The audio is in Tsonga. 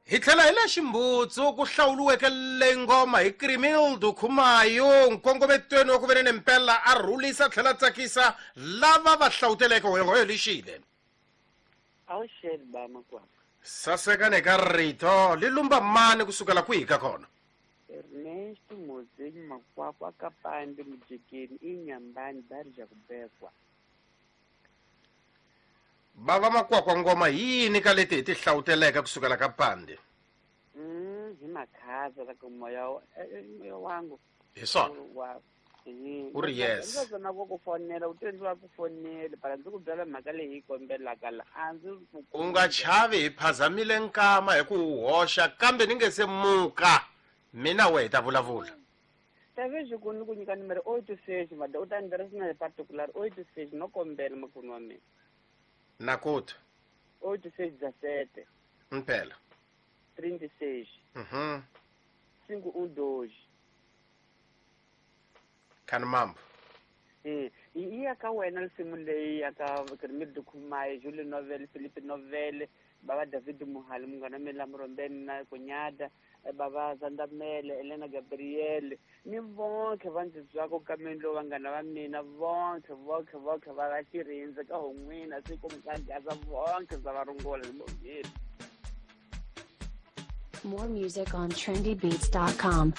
Hi tlhela hi le Ximbutsu ku hlawuliweke leyi ngoma hi Krimildo Khumayo nkongometweni wa ku ve ni mpela a rhulisa tlhela tsakisa lava va hlawuteleke hoyohoyo lixile. Awuxeni ba makwapa. Sasekani eka rito li lumba mani kusukela kwihi ka kona? Ernesto Mozenyi Makwakwa ka Pande Mujekeni Inyambani Barija Kubekwa. Bava Makwakwa ngoma hi yini ka leti hi ti hlawuteleke kusukela ka Pande? Hi makhaza la ku moya moya wangu. Hi swona. Wa U ri yes. Ndzi na ku ku fonela u te ndzi va ku fonele para ndzi ku byela mhaka leyi hi kombelaka la a ndzi ku U nga chavi hi phazamile nkama hi ku wu hoxa kambe ni nge se muka mina wehe hi ta vulavula. Tavezi ku ni ku nyika numero 86 mada u ta ni tirhisa na hi particular 86 no kombela makunu wa mina. Nakuta. 86 17. Mpela. 36. 5 1 2. Khani mambo. Yi ya ka wena risimu leyi ya ka Kermit Khumaye, Julie Novel, Philippe Novel, baba David Muhali, munghana mina Murombeni na Kunyada, baba Zandamele, Elena Gabriel, ni vonke va ndzi twaka ka mina lowu vanghana va mina vonke vonke vonke va va xirindze ka hon'wina siku mukagaza vonke ndza va rungula ni bongile. More music on trendybeats.com.